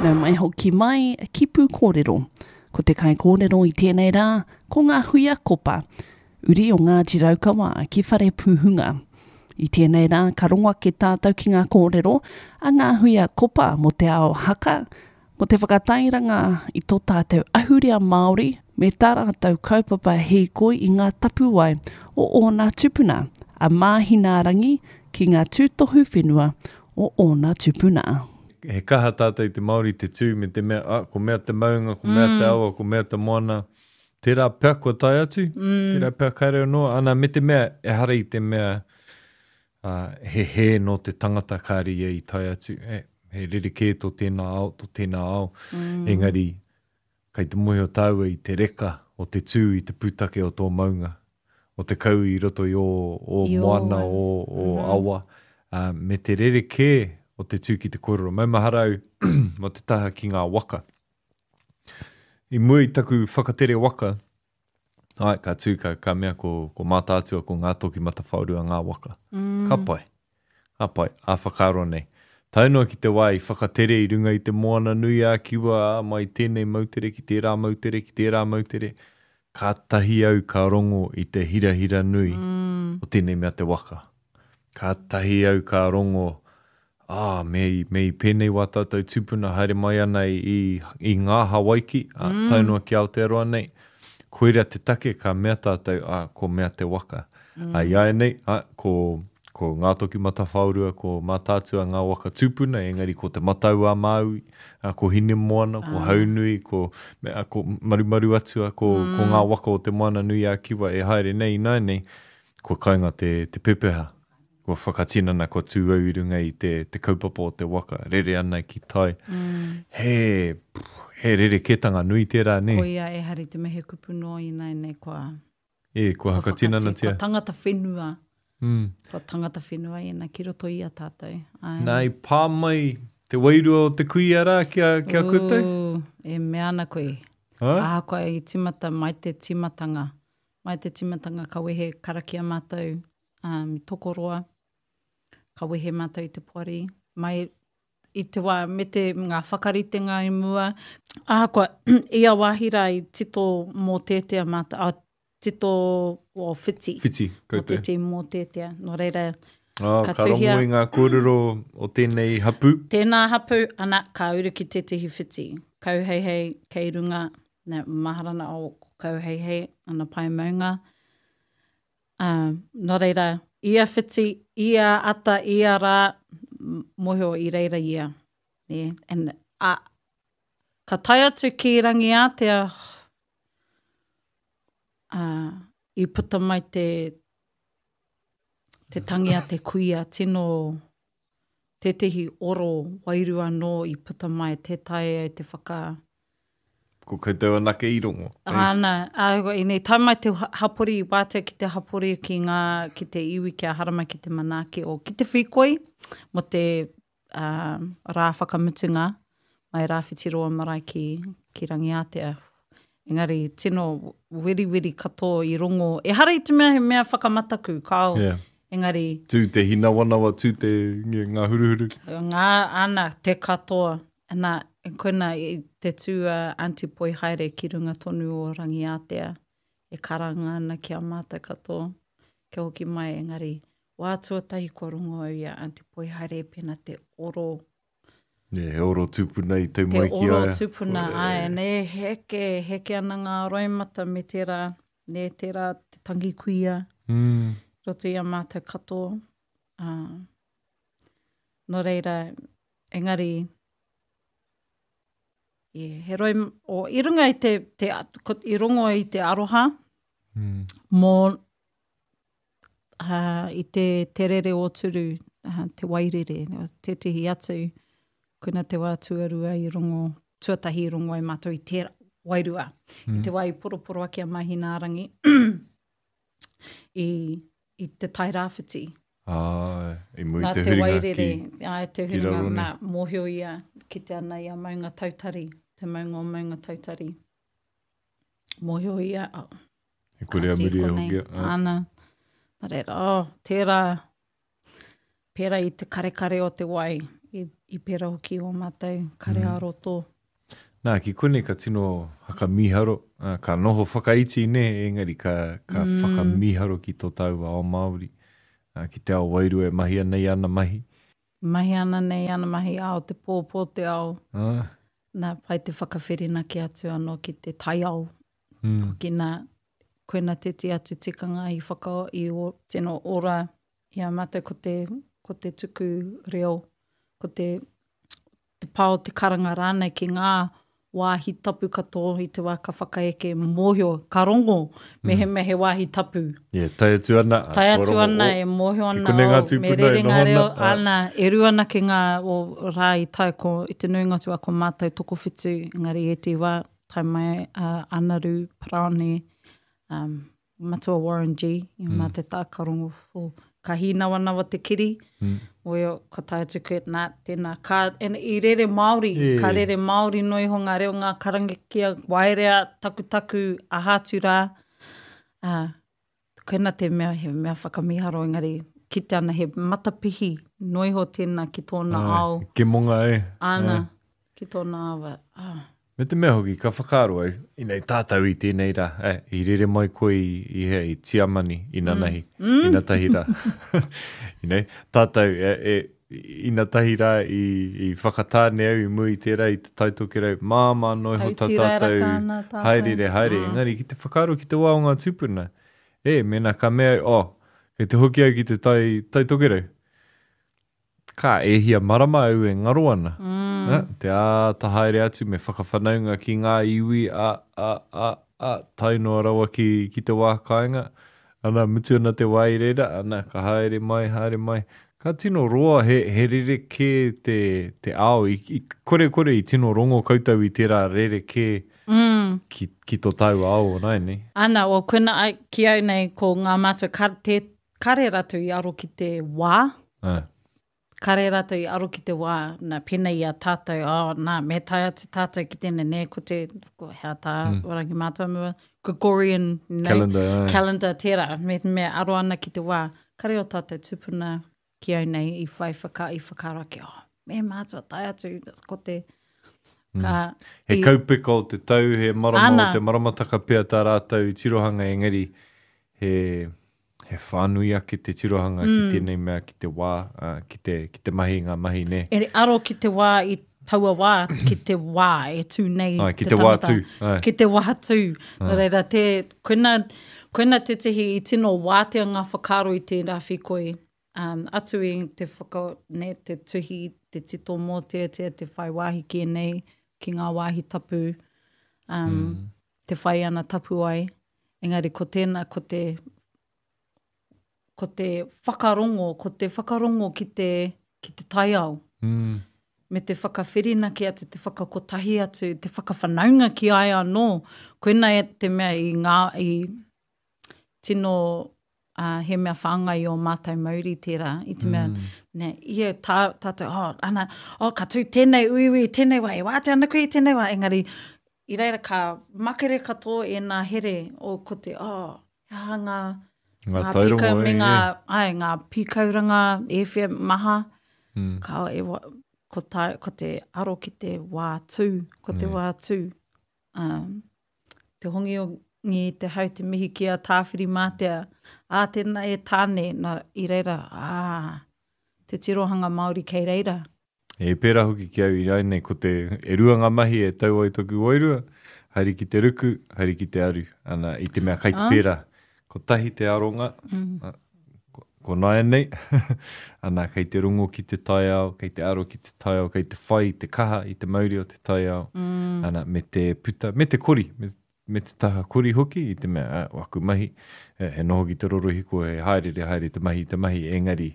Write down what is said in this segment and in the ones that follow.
Nau mai hoki mai ki Pūkōrero. Ko te kaikōrero i tēnei rā, ko Ngāhuia Kopa, uri o Ngāti Raukawa ki Wharepūhunga. I tēnei rā ka rongo ake tātou ki ngā kōrero a Ngāhuia Kopa mō te ao haka, mō te whakatairanga i tō tātou ahurea Māori me tā rātou kaupapa hīkoi i ngā tapuwae o ōna tūpuna, a Māhinaarangi ki ngā tūtohu whenua o ōna tūpuna. He kaha tātou te Māori te tū me te mea, ah, ko mea te maunga, ko mea te awa, ko mea te moana. Tērā pea kua tae atu, tērā pea kāre anō, ana me te mea ehara i te mea uh, he hē nō te tangata kāre ia i tae atu, he, he rerekē tō tēnā ao, tō tēnā ao, engari kei te mōhio tāua i te reka o te tū i te pūtake o tō maunga, o te kau i roto i ō, ō moana, ō, ō awa, uh, me te rerekē o te tū ki te kōrero. Maumahara au mō te taha ki ngā waka. I mua i taku whakatere waka, ai, ka tū, ka, ka mea ko, ko Mātaatua, ko Ngātokimatawhaorua ngā waka. Mm. Ka pai. Ka pai, ā whakaaro nei. Tae noa ki te wā i whakatere i runga i te moana nui ā Kiwa, ā, mai tēnei moutere ki tērā moutere, ki tērā moutere, kātahi au ka rongo i te hirahira nui mm. o tēnei mea te waka. Kātahi au ka rongo, ā, me i, me i pēnei wā tātou tūpuna haere mai ana i, i, i ngā Hawaiki, ā, mm. tae noa ki Aotearoa nei, koira te take ka mea tātou, ā, ko mea te waka. Mm. Ā, i āianei, ā, ko, ko Ngātokimatawhaorua, ko Mātaatua ngā waka tūpuna, engari ko Te Matau-a-Māui, ā, ko Hinemoana, ko Haunui, ko, me, ā, ko Marumaruatua, ko, mm. ko ngā waka o Te Moana Nui a Kiwa e haere nei ināianei, Kua kainga te, te pepeha, kua whakatinana, kua tū au i runga i te, te kaupapa o te waka, rere ana ki tai. Mm. He, he rerekētanga nui tērā, nē? Koia, ehara i te mea he kupu noa ināianei kua... E, kua whakatinanatia. Kua tangata whenua. Mm. Kua tangata whenua ēnā ki roto i a tātou. Ai. Nā, i pā mai te wairua o te kuia rā ki a, ki a koutou? Ooh, e mea ana koe. Ha? Ahakoa i timata mai te timatanga, Mai te timatanga ka wehe karakia mātou um, tokoroa, ka wehe mātou i te poari, mai i te wā me te ngā whakaritenga i mua. Ahakoa, ia wāhi rā i tito mōteatea mātou, a, tito o whiti. Whiti, koutou. Mō tētehi mōteatea. Nō reira, Oh, ka, ka rongo i ngā kōrero o tēnei hapū. Tēnā hapū, ana, ka uru ki tētehi whiti. Kauheihei kei runga, na, mahara na o Kauheihei, ana pae maunga. Uh, nō reira, ia whiti, ia ata, ia rā, mōhio i reira ia. Yeah. And, uh, ka tae atu ki Rangiātea, uh, i puta mai te, te tangi a te kuia, tino tētehi oro wairua anō i puta mai, tē taea e te whaka... Ko koutou anake i rongo. Āna, ā, ēnei, tae mai te hapori, wātea ki te hapori, ki ngā, ki te iwi, kia haramai ki te manaaki o, ki te whīkoi, mō te ā, rā whakamutunga, mai Rāwhitiroa marae ki, ki Rangiātea. Engari, tino weriweri katoa i rongo. Ehara i te mea he mea whakamataku, kāo. Yeah. Engari... Tū te hinawanawa, tū te ngā huruhuru. Ngā, ana, te katoa. Ana, koina i te tū a Aunty Poi haere ki runga tonu o Rangiātea e karanga ana ki a mātou katoa kia hoki mai, engari Wā tuatahi kua rongo au i a Aunty Poihaere e pena te oro. Yeah, he oro tūpuna i tau mai ki a ia. Te oro tūpuna, āe, nē, heke, heke ana ngā roimata me tērā, nē, tērā te tangi kuia. Mm. Roto i a mātou katoa. Uh, nō reira, engari, yeah, he roi, o, i runga i te, te, ko, i rongo i te aroha, mm. mō, uh, i te, te rere o turu, uh, te wairere, tētehi atu, koina te wā tuarua i rongo, tuatahi i rongo ai mātou i te wairua. Mm. I te wā i poroporo ake a Mahinārangi i, i te tai rāwhiti. Ah, i mua i te huringa wairere, ki, ai, te huringa, ki nā, mōhio ia ki te ana i a Maunga Tautari, te maunga o Maunga Tautari. Mōhio ia, oh, He kore a muri e hoki. Ana. Nā reira, oh, tērā, pērā i te karekare o te wai, i I pērā hoki ō mātou kare mm. ā-roto. Nā, ki konei ka tino whakamīharo, ka noho whakaiti nē, engari ka, ka mm. whakamīharo ki tō tāua ao Māori, ki te ao wairua e mahi ana i ana mahi. Mahi ana nei ana mahi ao te pō, pō te ao. Ah. Nā, pai te whakawhirinaki atu anō ki te taiao. Mm. Hoki nā, koina tēti atu tikanga i whaka, i o, tino ora i a mātou ko te, ko te tuku reo, ko te, te pā o te karanga rānei ki ngā wāhi tapu katoa i te wā ka whakaeke mōhio, ka rongo mm. mehemea he wāhi tapu. Yeah, tae atu ana. Tae atu ana, e mōhio ana, oh, me rere ngā reo, ah. ana, e rua ana ki ngā o rā i tae ko, i te nuinga atu a ko mātou tokowhitu, engari e te wā, tae mai a Anaru, Paraone, um, Matua Warren G, i mm. mā te tākarongo, oh, ka hīnawanawa te kiri, mm. oio, ka tae atu koe, nā, tēnā, ka, and, i rere Māori, yeah. ka rere Māori no iho ngā reo, ngā karangakia, waerea, takutaku, aha atu rā. Uh, koina te mea, he mea whakamiharo, engari, kite ana he matapihi no iho tēnā ki tōna Ai, ao. Ke monga e. Ana, ki tōna ao. Ah. Me te mea hoki, ka whakaaro au, inei tātou i tēnei rā, eh, i rere mai koe i, i hea, i Tiamani, inanahi, mm. inatahi rā. you know, tātou, e, e, inatahi rā i, i whakatāne au i mua i tērā i te Tai Tokerau, māmā noa iho tā tātou haerere haere. Mm. Engari, ki te whakaaro ki te wā o ngā tūpuna, e, mēnā ka mea au, oh, kei te hoki au ki te Tai, tai Tokerau. Ka, e hia marama au e ngaro ana. Mm. Eh, te āta haere atu me whakawhanaunga ki ngā iwi, a, a, a, a, tae noa rawa ki, ki te wā kāinga. Ana, mutu ana te wā i reira, ana, ka haere mai, haere mai. Ka tino roa, he, he rerekē te, te ao. I, i, korekore i tino rongo koutou i tērā rerekē mm. ki, ki tō tāua ao o nāianei. Ana, o koina ai, ki au nei, ko ngā mātua, ka, te, Kare ratou i aro ki te wā. Ā. Kare ratou i aro ki te wā, na, pēnei i a tātou, oh, nā, me tae atu tātou ki tēnei, nē, ko te, ko hea tā mm. Rangi Mātāmua, Gregorian, you know, calendar, ā. calendar tērā, me, me aro ana ki te wā. Kare o tātou tupuna ki au nei i whai whaka, i whakaaro ake, oh, me mātua tae atu, ko te, mm. ka... He i, kaupeka o te tau, he marama ana, o te maramataka pea tā rātou tirohanga, engari, he, he whānui ake te tirohanga mm. ki tēnei mea, ki te wā, uh, ki, te, ki te mahi i ngā mahi, nē. E aro ki te wā i taua wā, ki te wā e tū nei ai, ki te, te wā tū. Ai. Ki te wā tū. Nō reira, te, koina, koina tētehi i tino wātea ngā whakaaro i tērā whīkoi. Um, atu i te whaka, ne, te tuhi, te tito mōteatea, te whai wāhi ki ēnei, ki ngā wāhi tapu, um, mm. te whai ana tapuwae. Engari ko tēnā, ko te, ko te whakarongo, ko te whakarongo ki te, ki te taiao. Mm. Me te whakawhirinaki atu, te whakakotahi atu, te whakawhanaunga ki a ia anō. Koina e te mea i ngā, i tino, uh, he mea whāngai i ō mātou mauri tērā, i te mea, mm. ne, ia tā, tātou, oh, ana, oh, ka tū tēnei uiui, tēnei wā, e wātea ana koe i tēnei wā, engari, i reira ka makere katoa ēnā here o ko te, oh, he aha ngā, ngā, ngā pīkau me ngā, ai, ngā pīkauranga e whea maha, mm. ka, e, ko, tā, ko te aro ki te wā tū, ko te mm. wā tū. Um, te hongi te hau te mihi ki a Tāwhirimātea, ā, tēnā e Tāne, nā, i reira, ā, te tirohanga Māori kei reira. E pērā hoki ki au ināianei, ko te, e rua ngā mahi e tau ai toku wairua, haere ki te ruku, haere ki te aru, ana, i te mea kai te pērā. Kotahi te aronga, mm. ko, ko nāianei, ana, kei te rongo ki te taiao, kei te aro ki te taiao, kei te whai i te kaha, i te mauri o te taiao, mm. ana, me te puta, me te kori, me, me te taha kori hoki, i te mea, ah, waku mahi, he noho ki te rorohiko, he haerere haere te mahi, te mahi, engari,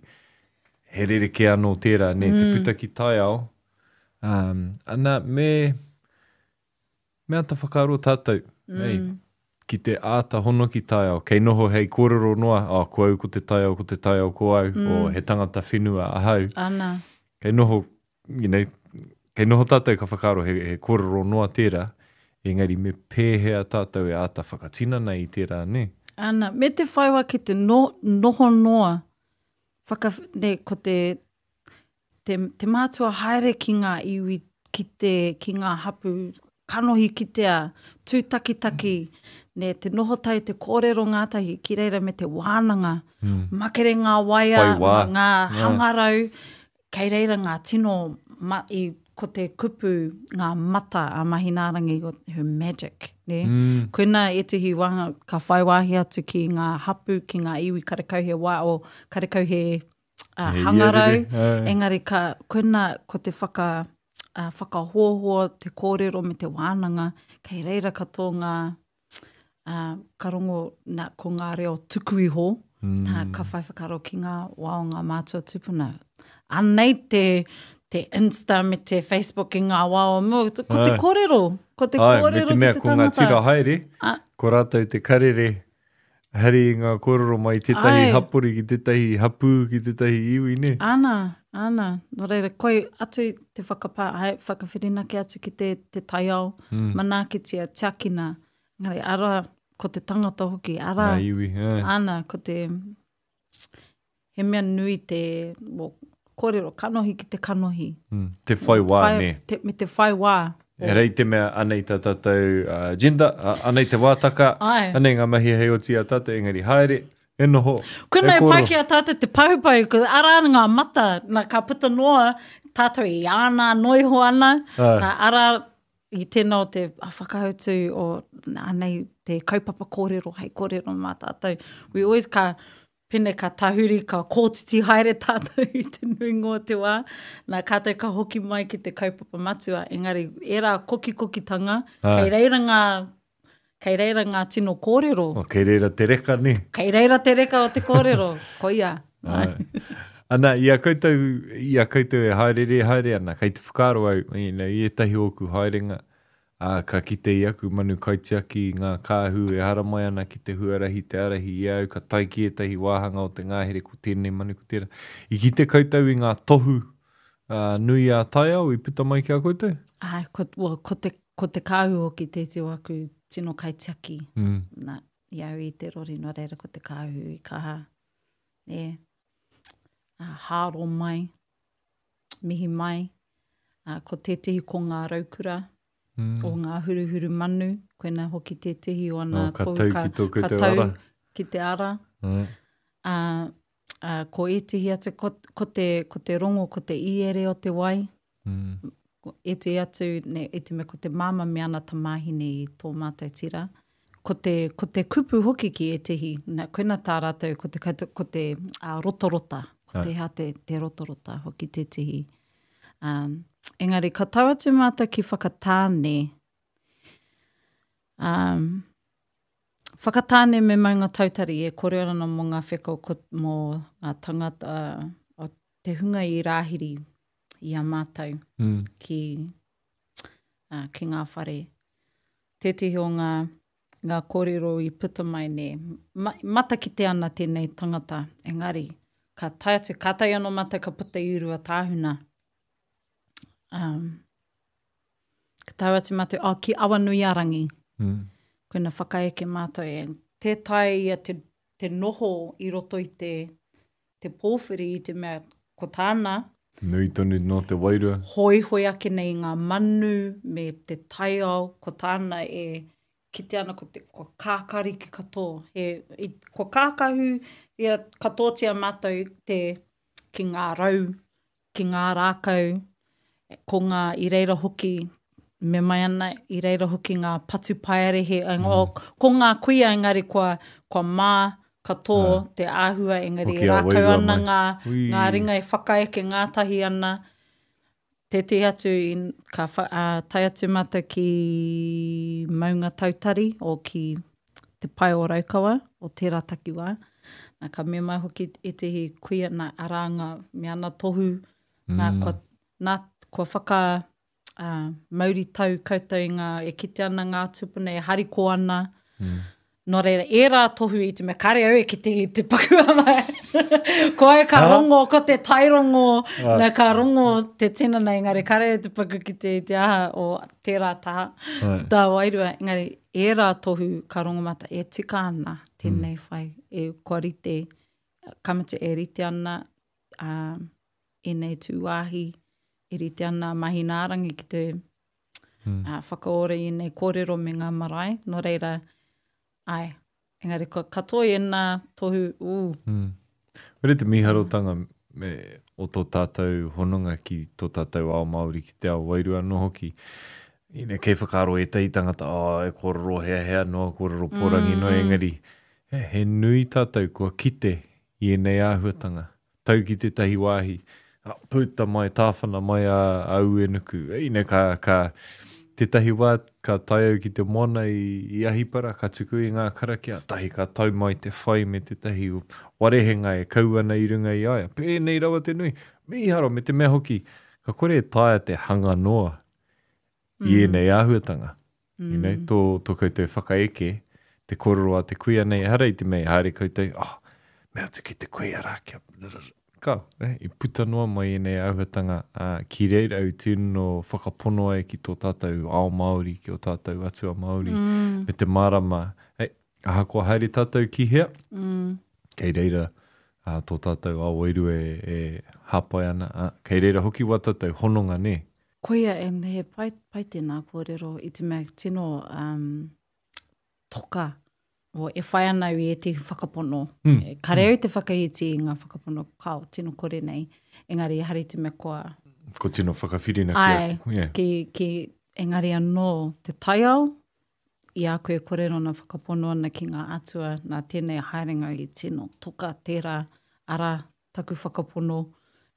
he rerekē anō tērā, nē, mm. te puta ki taiao, um, ana, me, me āta whakaaro tātou, mm. ei, ki te āta hono ki taiao, kei noho hei kōrero noa, oh, ko au ko te taiao, ko te taiao ko au, mm. o he tangata whenua ahau. Ana. Kei noho you know, kei noho tātou ka whakaaro he, he kōrero noa tērā, engari me pēhea tātou e āta whakatinana i tērā, nē? Ana, me te whai wā ki te no, noho noa, whaka, ne, ko te, te, te mātua haere ki ngā iwi, ki te, ki ngā hapu, kanohi kitea, tūtakitaki, ne, te noho tahi, te kōrero ngātahi, ki reira me te wānanga, mm. makere ngā waea, ngā hangarau, kei reira ngā tino, ma, i, ko te kupu, ngā mata a Mahinārangi, her magic, ne? Mm. Koina ētehi wāhanga ka whai wāhi atu ki ngā hapu, ki ngā iwi karekau he wā, o karekau he uh, hangarau, engari ka, koina ko te whaka, uh, whakahoahoa, te kōrero me te wānanga, kei reira katoa ngā, uh, ka rongo na, ko ngā reo tuku iho, mm. nā, ka whai whakaaro ki ngā wā o ngā mātua tupuna. Anei te, te Insta me te Facebook i ngā wā o mua, ko te kōrero, ko te Ai, kōrero me te mea, ki te ko ngā tira haere, ko rātou te karere, Hari i ngā kōrero mai tētahi Ai. hapori ki tētahi hapū, ki tētahi iwi, nē? Ana, ana. Nō reira, koi atu te whakapā, hai, whakawhirinaki atu ki te, te taiao, mm. manaakitia, tiakina. Engari, ara, ko te tangata hoki, ara. Ngā iwi, ē. Ana, ko te, he mea nui te, well, kōrero, kanohi ki te kanohi. Mm, te whai wā, whai, nē. Te, me te whai wā. E rei te mea, anei tā tātou uh, agenda, uh, anei te wātaka, Ai. anei ngā mahi hei oti a tātou, engari haere, e noho, Koinā e pai ki a tātou te pahupahu, ko arā ngā mata, nā, ka puta noa tātou i āna noiho ana, Ai. nā, arā i tēnā o te whakautu o anei te kaupapa kōrero hei kōrero mā tātou. We always ka, Pene ka tahuri, ka kōtiti haere tātou i te nuinga o te wā, nā, kātahi ka hoki mai ki te kaupapa matua, engari ērā kokikokitanga, kei reira ngā, kei reira ngā tino kōrero. Oh, kei reira te reka, nē? Kei reira te reka o te kōrero, koia. Āe. Ana, i a koutou, i a koutou e haereere haere ana, kei te whakaaro au, you know, i ētahi o ōku haerenga, Ā, ka kite i aku manu kaitiaki i ngā kāhu e haramai ana ki te huarahi te ārahi i a au, ka tae ki ētahi wāhanga o te ngahere ko tēnei manu ko tērā. I kite koutou i ngā tohu nui ā-taiao i puta mai ki a koutou? Āe, ko, well, ko te, ko te kāhu hoki tēti o aku tino kaitiaki. Mm. Nā, i au i te rori, nō reira ko te kāhu i kaha, e, ā, hāro mai. mihi mai. Uh, ko tētehi ko ngā raukura, mm. o ngā huruhuru manu, koina hoki tētehi o ana oh, ka tau ka, ki tō ka tau ara. ki te ara. Mm. Uh, uh, ko ētehi atu, ko, ko, te, ko te rongo, ko te iere o te wai. Mm. Ko ētehi atu, ne, i te mea ko te māma me ana tamāhine i tō mātou tira. Ko te, ko te kupu hoki ki ētehi, na, koina tā rātou, ko te, ko te uh, rotorota, ko te hea te, te rotorota hoki tētehi. Um, engari, ka tau atu mātou ki Whakatāne, um, Whakatāne me Maungatautari e kōrero ana mō ngā wheko, ko, mō ngā tangata, o te hunga i rāhiri i a mātou mm. ki, uh, ki ngā whare. Tētehi o ngā, ngā kōrero i puta mai nē, ma, matakite ana tēnei tangata, engari, ka tae atu, kātahi anō mātou ka puta i Ruatāhuna. Um, ka tau atu mātou, oh, ki Awanuiarangi. Mm. Koina whakaeke mātou e. Tē taea ia te, te noho i roto i te, te pōwhiri i te mea ko tāna. Nui tonu nō te wairua. Hoihoi ake nei i ngā manu me te taiao, ko tāna e kite ana ko te, kua kākāriki katoa. He, i, kua kākahu ia katoatia mātou te, ki ngā rau, ki ngā rākau, ko ngā, i reira hoki, me mai ana, i reira hoki ngā patupaiarehe, mm. o, ko ngā kuia engari kua, kua mā katoa ah. te āhua, engari e rākau ana ngā, ngā ringa e whakaeke ngātahi ana. Tētehi atu, i, ka wha, uh, tae atu mātou ki Maungatautari o ki Te Pae o Raukawa, o tērā takiwā. Nā, ka mea mai hoki ētehi kuia, nā, arā ngā, me ana tohu, mm. nā, kua, nā, kua whaka uh, mauritau koutou i ngā, e kite ana ngā tupuna, e hariko ana. Mm. Nō reira, ērā tohu i te mea, kare au e kite i te paku ama. Ko au ka rongo, ko te tairongo, ah. nā, ka rongo te tinana, engari kare au te paku kite i te aha o tērā taha, tā wairua. Engari, ērā tohu ka rongo mātou, e tika ana tēnei mm. whai, e, kua rite, ka mutu e rite ana, uh, ēnei tūwāhi e rite ana a Mahinaarangi ki te mm. uh, whakaora i ēnei kōrero me ngā marae. Nō reira, ai, engari ko katoa i ēnā tohu, ū. Mm. Wera te mīharotanga me, o tō tātou hononga ki tō tātou ao Māori, ki te ao wairua anō hoki. Ina, kei whakaaro ētahi tangata, oh, e kōrero heahea noa, kōrero pōrangi mm. noa, engari, he, he nui tātou kua kite i ēnei āhuatanga. Tau ki tētahi wāhi, puta mai, tāwhana mai a, a Uenuku. Ina ka, ka, tētahi wā ka tae au ki te moana i, i Ahipara, ka tuku i ngā karakia, tahi ka tau mai te whai me tētahi warehenga e kau ana i runga i a ia. Pēnei rawa te nui. Mīharo, me te mea hoki, ka kore e taea te hanga noa i ēnei āhuatanga. Mm. You know, tō, tō koutou whakaeke, te kōrero a te kuia nei, ehara i te mea i haere koutou, oh, mea atu ki te kuia rā, kia... Ka, eh, i puta noa mai ēnei āhuatanga, ā, ki reira au tino whakapono ai ki tō tātou ao Māori, ki ō tātou atua Māori, mm. me te mārama, hei, ahakoa haere tātou ki hea, mm. kei reira ā, tō tātou ao wairua e, e hāpai ana, ā, kei reira hoki wā tātou hononga, nē? Koia, and he pai, pai tēnā kōrero i te mea tino um, toka o, e whai ana au i ētehi whakapono. Mm. E, kare au mm. te whakaiti i ngā whakapono, kao, tino kore nei. Engari, ehara i te mea kua... Ko tino whakawhirina ki ai, yeah. ki, ki, engari anō te taiao, i a koe kōrero ana whakapono ana ki ngā atua, nā tēnei haerenga i tino toka tērā ara taku whakapono,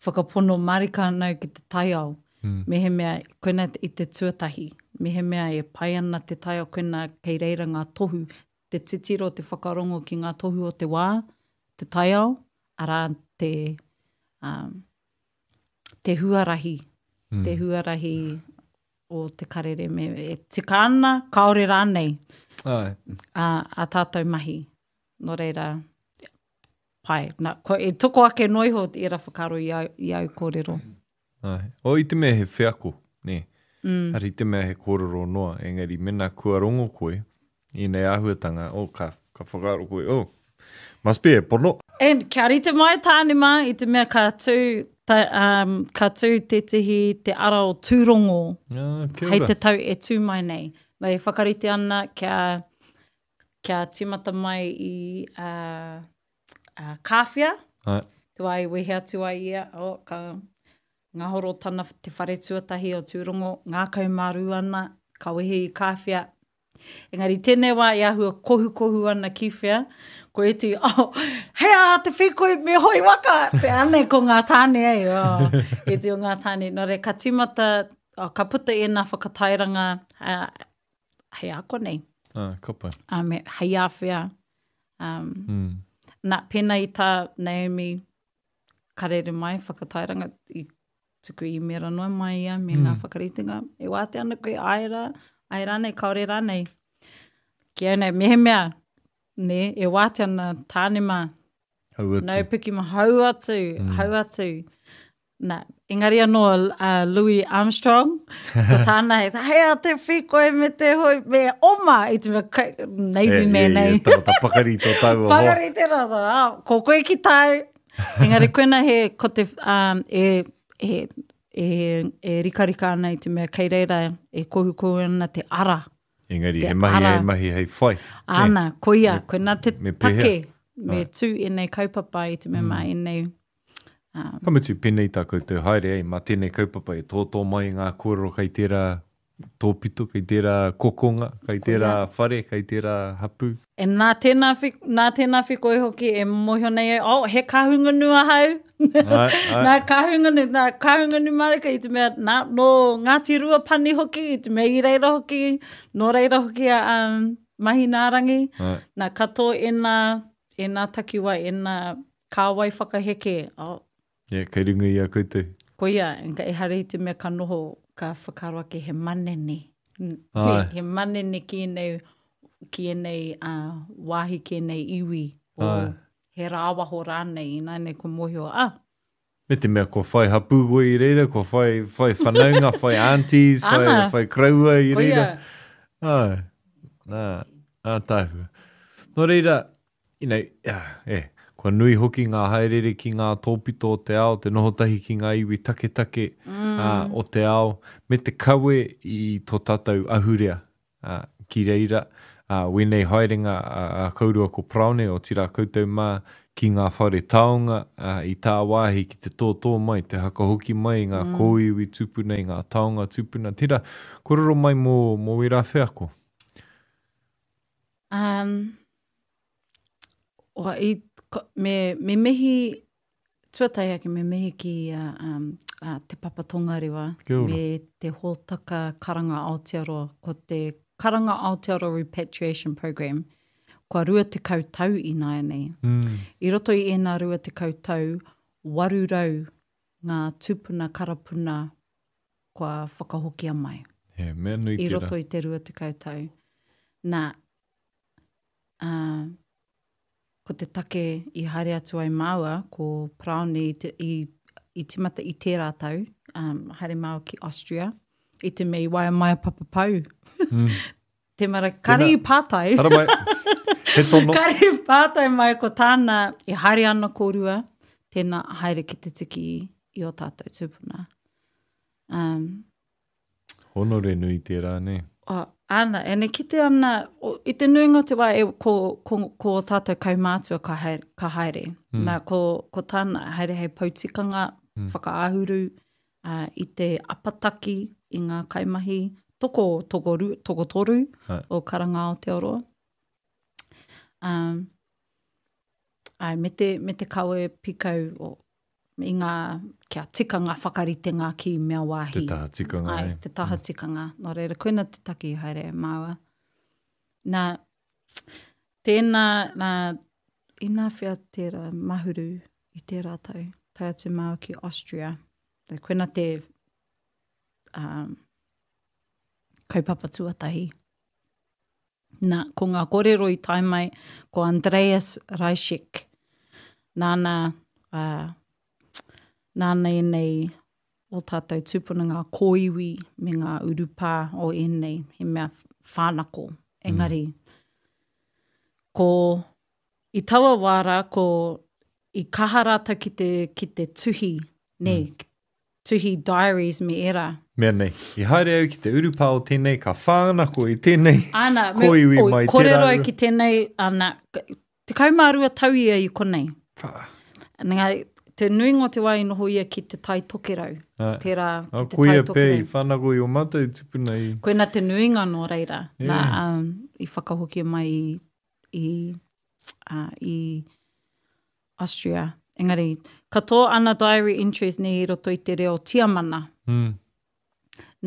whakapono marika ana au ki te taiao. Mm. Mehemea, koina i te tuatahi, mehemea e pai ana te taiao, koina kei reira ngā tohu, te titiro, te whakarongo ki ngā tohu o te wā, te taiao, arā te, um, te huarahi, mm. te huarahi o te karere me e tika ana, kāore rānei Ai. A, a tātou mahi. Nō reira, pai. Na, ko, e toko ake noa iho ērā whakaaro i au, i au kōrero. Ai. O, i te mea he wheako, nē. Mm. Hari te mea he kōrero noa, engari mena kua rongo koe i ēnei āhuatanga, oh, ka, ka whakaaro koe, oh, must be e pono. And kia rite mai tāne mā, i te mea ka tū, ta, um, ka tū tētehi te ara o Tūrongo ah, hei te tau e tū mai nei. Nā, e whakarite ana kia kia tīmata mai i a, a Kāwhia, Ai. te wā i wehe atu ai ia, oh, ka ngahoro tana te whare tuatahi o Tūrongo, ngākau mārū ana, ka wehe i Kāwhia. Engari tēnei wā i āhua kohukohu ana ki whea, ko ētehi, oh, hei aha te whīkoi me hoi waka, te ane ko ngā tāne ei, oh, ētehi o ngā tāne. Nō reira, ka tīmata, oh, ka puta ēnā whakatairanga, uh, hei a konei. Ah, ka pai. Um, me, hei āwhea. Um, mm. Nā, pēnā i tā Naomi karere mai, whakatairanga, i tuku īmēra noa mai ia me mm. ngā whakaritenga. E wātea ana koe, āe rā, āe rānei, kāore rānei. Ki au nei, mehemea, nē, e wātea ana tāne mā. Hau atu. Nau piki ma, hau atu, mm. hau atu. Nā, engari anō a Louis Armstrong, ko tāna he, hei a te whīkoi me te hoi, me oma, i te mea, kai, Navy e, man, e, nei. E, tangata pakari tō tāua hoa. Pakari te rā, ah, ko koe ki tāu. Engari koina he, ko te, um, e, e, e, e rikarika ana i te mea, kei reira e kohukohu ana te ara. Engari, he mahi hei mahi hei whai. Ana, koia, koina te take, me tū ēnei kaupapa i te mea mā mm. ēnei Um, Ka mutu, pēnei tā koutou haere, ei, mā tēnei kaupapa e tōtō mai ngā kōrero kei tērā tōpito, kei tērā kokonga, kei tērā whare, kei tērā hapū. E nā tēnā, nā tēnā whikoi hoki e mōhio nei au, oh, he Kahungunu ahau. Ai, ai. nā Kahungunu, nā Kahungunu marika i te mea, nā, nō Ngāti Ruapani hoki, i te mea i reira hoki, nō reira hoki a um, Mahinaarangi. Ai. Nā, katoa ēnā, ēnā takiwa, ēnā Kāwai whakaheke, oh. Yeah, kei runga i a koutou. Koia, ehara i te mea ka noho, ka whakaaro ake he manene. He, he manene ki ēnei, ki ēnei uh, wāhi, ki ēnei iwi, o, he rāwaho rānei, ināianei kua mōhio, ah! Me te mea kua whai hapū koe i reira, kua whai, whai whanaunga, whai aunties, whai, Ana. whai koroua i reira. Koia. Ai, nā, ātaahua. Nō reira, you know, e, Kua nui hoki ngā haereere ki ngā tōpito o te ao, te noho tahi ki ngā iwi taketake o te ao, me te kawe i tō tātou ahurea ki reira. Wēnei haerenga a kourua ko Paraone, otirā koutou mā, ki ngā whare taonga i tāwāhi ki te tōtō mai, te hakahoki mai i ngā kōiwi tūpuna, i ngā taonga tūpuna. Tērā, kōrero mai mō, mō wērā wheako. Um, o, i, me, me mihi, tuatahi ake me mihi ki uh, um, uh, Te Papa Tongarewa me te hōtaka Karanga Aotearoa, ko te Karanga Aotearoa Repatriation Programme, kua 20 tau ināianei. Mm. I roto i ēnā 20 tau, 800 ngā tūpuna karapuna kua whakahokia mai. He mea nui tērā. I roto i te 20 tau. Nā, ā, ko te take i haere atu ai māua, ko Paraone i, te, i, i timata i tērā tau, um, haere māua ki Austria, i te mea i waea mai a Papa Pau. Mm. Te mara, kare i pātai. Haramai. He tono. Kare i pātai mai ko tāna, e haere ana kōrua, tēnā haere ki te tiki i o tātou tūpuna. Um, Honore nui tērā, nē? Oh, ana, ene kite ana, o, i te nuinga o te wā, e, ko, ko, ko o tātou kaumātua ka haere. Ka haere. Mm. Nā, ko, ko tāna, haere hei poutikanga, mm. whakaahuru, uh, i te apataki i ngā kaimahi, toko, tokoru, tokotoru Hai. o Karanga Aotearoa. Um, ai, me te, me te kawe pikau o, i ngā, kia tika ngā whakaritenga ki mea wāhi. Te taha tikanga. Ai, te taha mm. tikanga. Nō reira, koina te taki haere e māua. Nā, tēnā, nā, inā whea tērā mahuru i tērā tau, tae atu māua ki Austria. Koina te um, kaupapa tuatahi. Nā, ko ngā kōrero i tae mai, ko Andreas Reischek, nāna, uh, nāna ēnei o tātou tūpuna ngā kōiwi me ngā urupā o ēnei, he mea whānako. Engari, mm. ko, i taua wā rā, ko, i kaha rātou ki te, ki te tuhi, nē, mm. tuhi diaries me ērā. Mea nei, i haere au ki te urupā o tēnei, ka whānako i tēnei ana, kōiwi me, mai tērā. Kōrero au ki tēnei, ana, 12 tau ia i konei. Wha. Nga, te nuinga o te wā i noho ia ki te Tai Tokerau. Ah. Tērā, ki ah, te Tai Tokerau. Koia pē i whānako i o mātou tupuna i. Koina te nuinga nō reira. Yeah. Nā, um, i whakahokia mai i, i, uh, i Austria. Engari, katoa ana diary entries nei i roto i te reo Tiamana. Mm.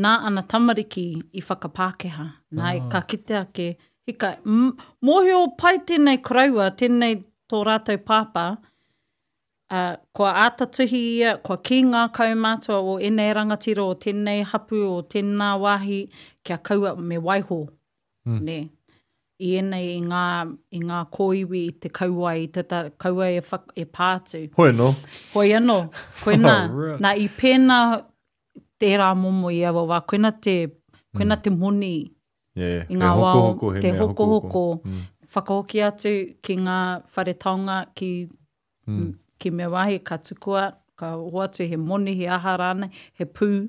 Nā ana tamariki i whakapākehā. Nā, oh. ka kite ake, hika, mōhio pai tēnei koroua, tēnei tō rātou pāpā, uh, kua āta tuhi ia, kua kī ngā kaumātua o ēnei rangatira, o tēnei hapu, o tēnā wāhi, kia kaua me waiho. Mm. Nē. I ēnei i ngā, i ngā kōiwi i te kauae, i te ta, kaua e, whak, e pā atu. Hoi anō. Hoi anō. Koinā, oh, nā, i pēnā tērā momo i aua wā, koina te, koina mm. te moni yeah, i ngā wā, te hokohoko, mm. whakahoki atu ki ngā whare taonga, ki Mm. Ki mea wāhi, ka tukua, ka hoatu he moni, he aha rānei, he pū.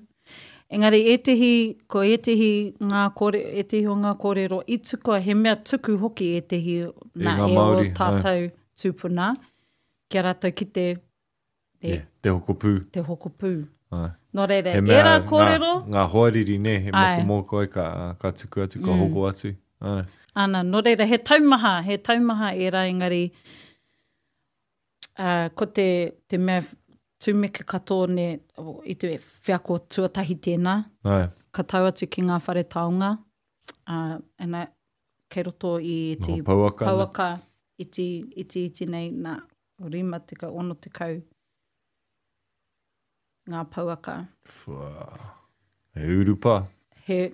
Engari ētehi, ko ētehi ngā kore, ētehi o ngā kōrero i tukua, he mea tuku hoki ētehi nā e o tātou tūpuna, kia rātou ki te, e, yeah, te hoko pū. Te hoko pū. Ai. Nō reira, he mea, ērā kōrero. Ngā, ngā hoariri, nē, he mokomoko ai ka, ka tuku atu, ka mm. hoko atu. Ai. Ana, nō reira, he taumaha, he taumaha ērā engari, Uh, ko te, te mea tūmeke katoa ne, i te wheako tuatahi tēnā. Ai. Ka tau atu ki ngā whare taonga, uh, and I, kei roto i te pouaka, pouaka iti, iti, iti nei, nā, 50, 60 ngā pouaka. Wha. He urupa. He,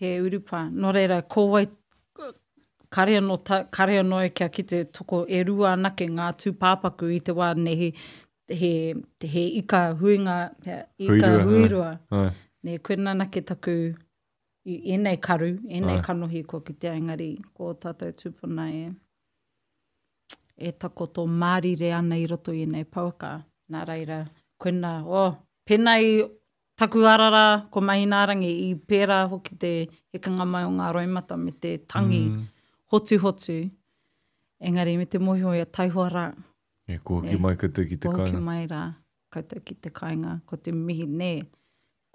He urupā. Nō reira, ko wai, kare anō, ta, kare anō e kia kite toko e rua anake ngā tūpāpaku i te wā nei he, he, he ika huinga, he ika huirua. huirua. Ai. Nē, koina anake taku, i ēnei karu, ēnei Ai. kanohi kua kitea, engari ko tātou tūpuna e. E takoto mārire ana i roto i ēnei pouaka. Nā reira, koina, oh, pēnā i taku ara rā, ko Mahinārangi, i pērā hoki te hekenga mai o ngā roimata me te tangi mm. hotuhotu. Engari me te mōhio e taihoa rā. E, kua hoki mai koutou ki te kāinga. Kua hoki mai rā koutou ki te kāinga. Ko te mihi, nē.